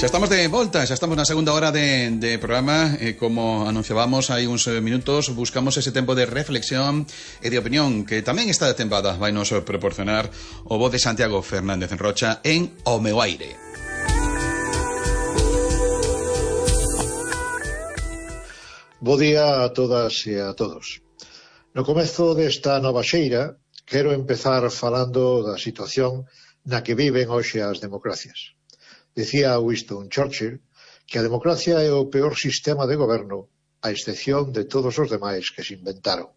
Xa estamos de volta, xa estamos na segunda hora de programa. Como anunciábamos hai uns minutos, buscamos ese tempo de reflexión e de opinión que tamén esta tempada vai nos proporcionar o voz de Santiago Fernández Rocha en O meu aire. Bo día a todas e a todos. No comezo desta nova xeira, quero empezar falando da situación na que viven hoxe as democracias. Decía Winston Churchill que a democracia é o peor sistema de goberno, a excepción de todos os demais que se inventaron.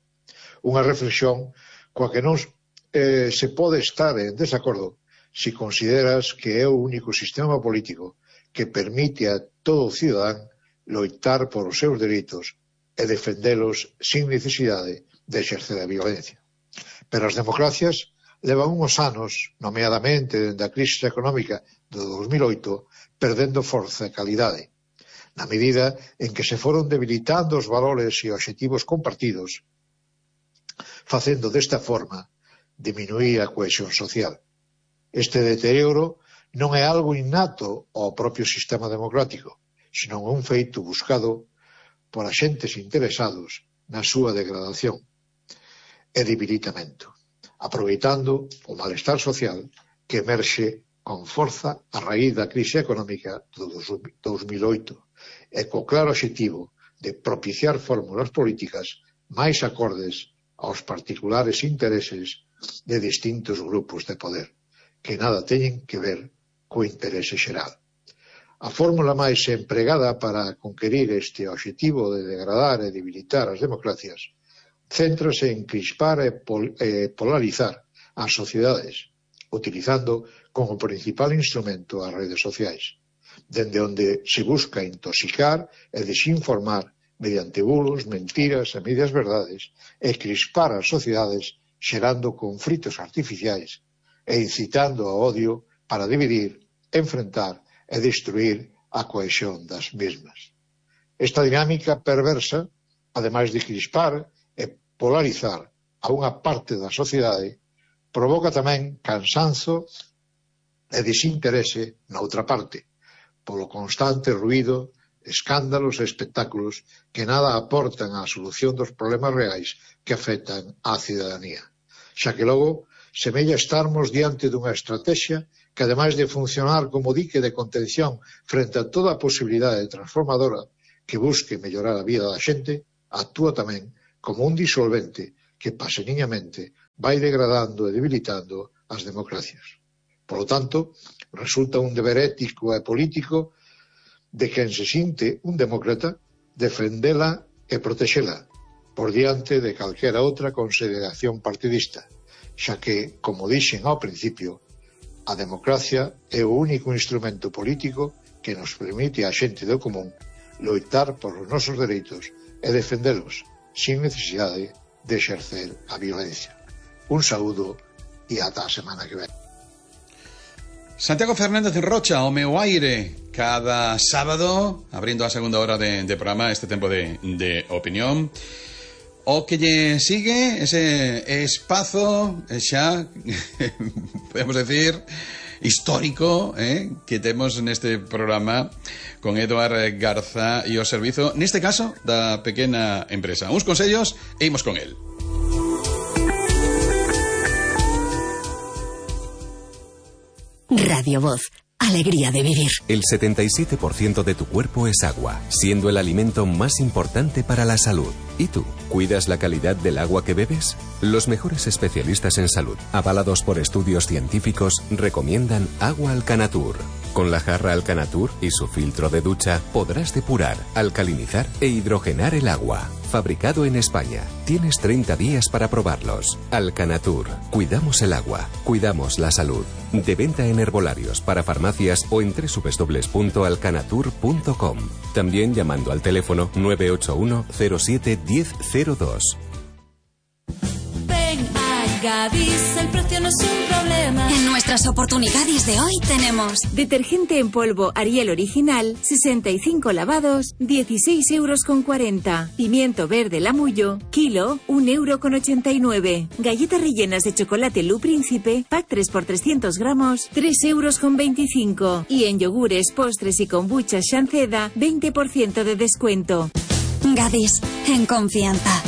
Unha reflexión coa que non se pode estar en desacordo se consideras que é o único sistema político que permite a todo cidadán loitar por os seus dereitos e defendelos sin necesidade de exercer a violencia. Pero as democracias levan uns anos, nomeadamente dende a crise económica do 2008, perdendo forza e calidade, na medida en que se foron debilitando os valores e obxectivos compartidos, facendo desta forma diminuir a cohesión social. Este deterioro non é algo innato ao propio sistema democrático, senón un feito buscado por axentes interesados na súa degradación e debilitamento, aproveitando o malestar social que emerxe con forza a raíz da crise económica do 2008 e co claro obxectivo de propiciar fórmulas políticas máis acordes aos particulares intereses de distintos grupos de poder, que nada teñen que ver co interese xeral. A fórmula máis empregada para conquerir este obxectivo de degradar e debilitar as democracias céntrase en crispar e polarizar as sociedades, utilizando como principal instrumento as redes sociais, dende onde se busca intoxicar e desinformar mediante bulos, mentiras e medias verdades e crispar as sociedades xerando conflitos artificiais e incitando ao odio para dividir, enfrentar e destruir a cohesión das mesmas. Esta dinámica perversa, ademais de crispar e polarizar a unha parte da sociedade, provoca tamén cansanzo e desinterese na outra parte, polo constante ruído, escándalos e espectáculos que nada aportan á solución dos problemas reais que afectan á cidadanía. Xa que logo semella estarmos diante dunha estrategia que, ademais de funcionar como dique de contención frente a toda a posibilidade transformadora que busque mellorar a vida da xente, actúa tamén como un disolvente que paseniñamente vai degradando e debilitando as democracias. Por lo tanto, resulta un deber ético e político de quen se sinte un demócrata defendela e protexela por diante de calquera outra consideración partidista, xa que, como dixen ao principio, a democracia é o único instrumento político que nos permite a xente do común loitar por os nosos dereitos e defendelos sin necesidade de exercer a violencia. Un saúdo e ata a semana que ven. Santiago Fernández Rocha, O meu aire, cada sábado, abrindo a segunda hora de programa, este tempo de opinión. O que lle sigue ese espazo xa, podemos decir, histórico, que temos neste programa con Eduard Garza e o servizo, neste caso, da pequena empresa. Uns consellos e imos con el. Radio Voz. Alegría de vivir. El 77% de tu cuerpo es agua, siendo el alimento más importante para la salud. ¿Y tú? ¿Cuidas la calidad del agua que bebes? Los mejores especialistas en salud, avalados por estudios científicos, recomiendan agua Alcanatur. Con la jarra Alcanatur y su filtro de ducha podrás depurar, alcalinizar e hidrogenar el agua. Fabricado en España. Tienes 30 días para probarlos. Alcanatur. Cuidamos el agua. Cuidamos la salud. De venta en herbolarios, para farmacias o en www.alcanatur.com. También llamando al teléfono 981 07 1002. Ven a Gadis, el precio no es un problema. En nuestras oportunidades de hoy tenemos detergente en polvo Ariel Original, 65 lavados, 16,40 €. Pimiento verde Lamullo, kilo, 1,89 €. Galletas rellenas de chocolate Lu Príncipe, pack 3 por 300 gramos, 3,25 €. Y en yogures, postres y kombuchas Shanceda, 20% de descuento. Gadis, en confianza.